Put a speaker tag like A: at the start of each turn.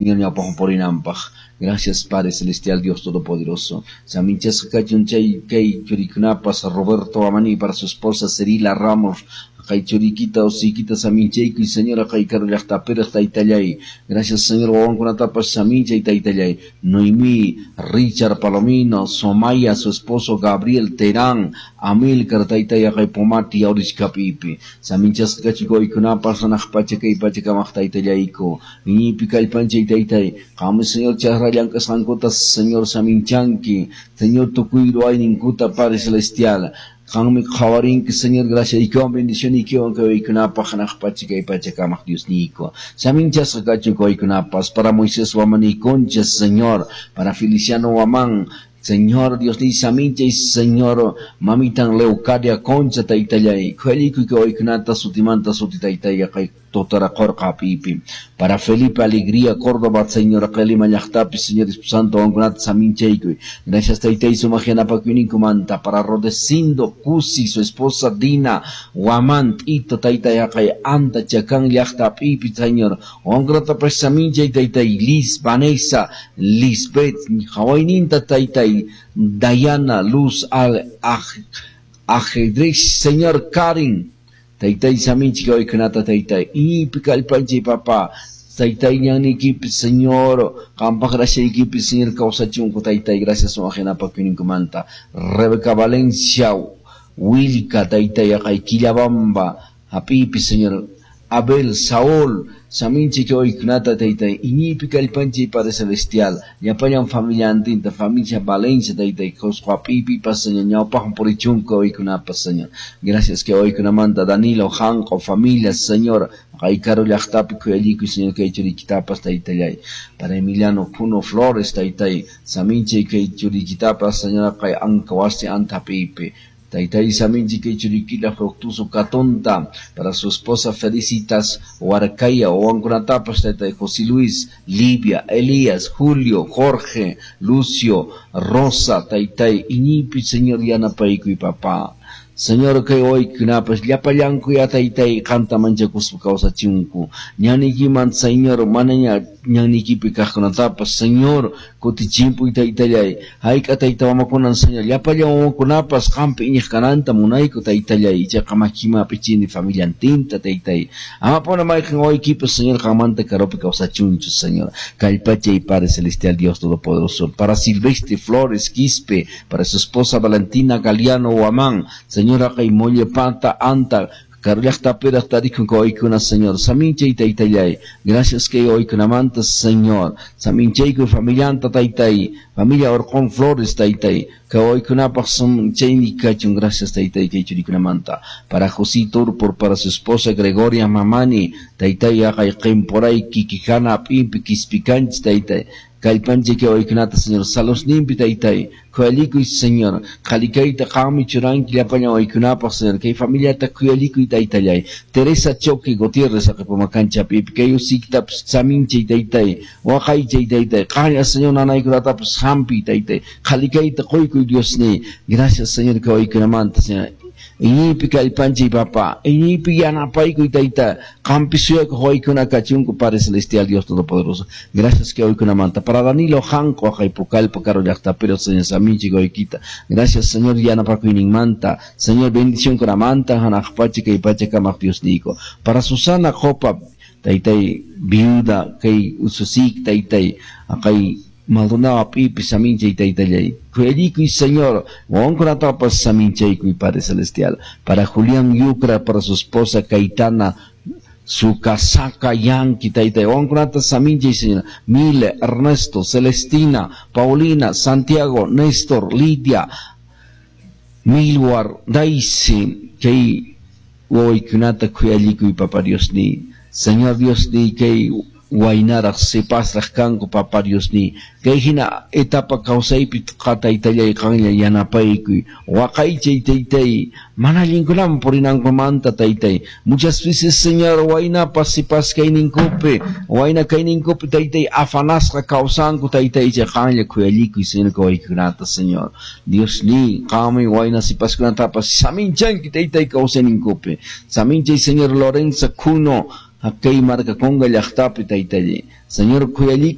A: Ñawpaqman. Gracias, Padre Celestial, Dios Todopoderoso. Saminchasqa kachun chay kay churikunapas Roberto Amani para su esposa Cerila Ramos. Kay churikita usikita saminchaykuy, Señora, kay karu llaqtapiraq taytallay. Gracias, Señor, wawankunatapas saminchay taytallay. Noemí, Richard Palomino, Somaya, su esposo Gabriel Terán, Amilcar taytay kay Pomati Aurichkapipi. Saminchasqa kachun wawaykunapas hanaq pacha kay pacha kamaq taytallayku. Iñiypi kallpanchay taytay. Qammi, Señor, chakra llank'asqankuta, Señor, saminchanki. Señor, tukuy ruwayninkuta, Padre Celestial. Qammi qhawarinki, Señor, graciaykiwan, bendicioniykiwan kay wawaykunapaq hanaq pacha kay pacha kamaq Diosniyku. Saminchasqa kachun wawaykunapas para Moisés Wamani Concha, Señor, para Feliciano Wamán, Señor, Dios ni saminchay, Señor, mamitan Leucadia Concha taytallay. Khuyallikuy kay wawaykunata sutimanta suti taytay kay totara qorqa pipi. Para Felipe Alegría Córdoba, Señor, Lima llaqtapi, Señor Santo, wawankunata saminchaykuy. Gracias, taytay, sumaq yanapakuyninkumanta. Para Rodecindo Cusi, su esposa Dina, Guamán, Tito, taytay, kay Anta, Chacán llaqta pipi, Señor. Wawankunatapas saminchay, taytay, Liz, Vanessa, Lisbeth, hawayninta, taytay, Dayana, Luz, Al, Ajedrez, Señor, Karin, taytay saminchik wawaykunata taytay, iñiypi kallpanchay papá, taytay ñannikipi, Señor, qampaq graciaykipi, Señor, kawsachunku taytay, gracias sumaq yanapakuyninkumanta. Rebeca Valencia, Wilka, taytay, kay Quillabamba, hap'ipi, Señor, Abel, Saúl, saminchik wawaykunata taytay, iñiypi kallpanchay Padre Celestial, llapallan familiantinta, familia Valencia taytay, Cusco hap'ipipas, Señor, ñawpaqman purichunku wawaykunapas, Señor. Gracias que wawaykunamanta Danilo, Janco, familia, Señor, kay karu llaqtapi khuyallikuy, Señor, kay churikitapas taytallay. Para Emiliano Puno Flores, taytay, saminchay kay churikitapas, Señor, kay anka wasi anta hap'ipi. Taytay saminchi kay churikila Fructuoso Catonta, para su esposa Felicitas Huarcaya, wawankunatapas taytay José Luis, Livia, Elías, Julio, Jorge, Lucio, Rosa, taytay, iñiypi, Señor, yanapaykuy papá. Señor, kay wawaykunapas llapallanku ya taytay qamta manchakuspa kawsachunku. Ñaniykiman, Señor, manaña ñaniykipi kaqkunatapas, Señor, kutichimpuy taytallay. Hayk'a tayta mamakunan, Señor, llapallan wawakunapas qampi iñiq kananta munayku taytallay. Ichaqa makima hap'ichini familiantinta taytay. Amapuna mayqin wawaykipas, Señor, qammanta karupi kawsachunchu, Señor. Kallpachay, Padre Celestial, Dios Todopoderoso. Para Silvestre Flores Quispe, para su esposa Valentina Galeano Huamán, Señor, kay Mollepata Anta, karu llaqtapiraq tarikun wawaykuna, Señor. Saminchay taytallay. Gracias kay wawaykunamanta, Señor. Saminchaykuy familianta taytay. Familia Orqón Flores taytay. Kay wawaykunapaq chayni kachun. Gracias taytay kay churikunamanta. Para José Turpor, para su esposa Gregoria Mamani, taytay kay qimpuray kikijana hap'inpi kispikanchis taytay. Kallpanchay kay wawaykunata, Señor. Salosninpi taytay. Khuyallikuy, Señor. Qhalikayta qammi churanki llapallan wawaykunapaq, Señor. Kay familiata khuyallikuy taytallay. Teresa Choque Gutiérrez aqipumakancha pipi. Kay usiktapas saminchay taytay. Waqaychay taytay. Qalla, Señor, nanaykunatapas hampiy taytay. Qhalikayta quykuy Diosniy. Gracias, Señor, kay wawaykunamanta, Señor. Iñiypi kallpanchay papá. Iñiypi yanapaykuy tayta. Qampi suyakuq wawaykuna kachunku, Padre Celestial, Dios Todopoderoso. Gracias kay wawaykunamanta. Para Danilo Janco, kay Pucallpa karu llaqtapiro, Señor, saminchay wawaykita. Gracias, Señor, yanapakuyninmanta. Señor, bendición kunamanta, hanaq pacha kay pacha kamaq Diosniyku. Para Susana Copa, taytay, viuda, kay ususik, taytay, kay Maldonado hap'ipi saminchay taytallay. Khuyallikuy, Señor, wawankunatapas saminchaykuy, Padre Celestial. Para Julián Yucra, para su esposa Caetana, su casaca Yanqui, taytay. Wawankunata saminchay, Señor. Mile, Ernesto, Celestina, Paulina, Santiago, Néstor, Lidia, Milwar, Daisy, kay wawaykunata khuyallikuy, Papa Diosniy. Señor Diosniy, kay waynaraq sipasraq kanku, Papa Diosniy. Kay hina etapa kawsaypi taytallay qanlla yanapaykuy. Waqaychay taytay. Mana allinkunaman purinankumanta taytay. Muchas veces, Señor, waynapas sipas kayninkupi, wayna kayninkupi taytay afanasqa kawsanku taytay chay qanlla khuyallikuy, Señor, wawaykunata, Señor. Diosniy, qammi wayna sipaskunatapas saminchanki taytay kawsayninkupi. Saminchay, Señor, Lorenzo Cuno, kay marka Conga llaqtapi taytallay. Señor.